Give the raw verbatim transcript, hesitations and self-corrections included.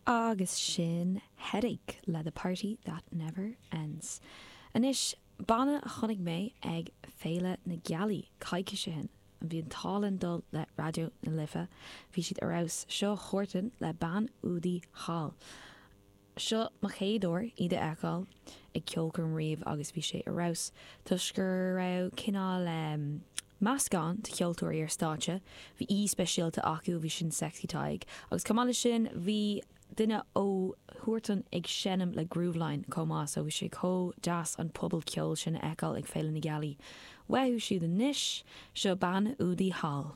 Agus sin Headache le The Party That Never Ends. Anois banna a chonaic mé ag Féile na Gealaí coicís ó shin. An bhí an t-ádh linn dul le Raidió na Life, bhí siad ar fheabhas seo Huartan le Bean Údaí Thall. Seo mo chéad uair iad a fheiceáil ag ceolchoirm riamh agus bhí sé ar fheabhas toisc go raibh cineál um, meascán de cheoltóirí ar stáitse, bhí aoi speisialta acu bhí sin Sexy Tadhg, agus chomh maith leis sin bhí duine ó Huartan ag seinm le Grooveline chomh maith so bhí sé chomh deas an pobal ceoil sin a fheiceáil ag Féile na Gealaí. Uathu siúd anois seo Bean Údaí Thall.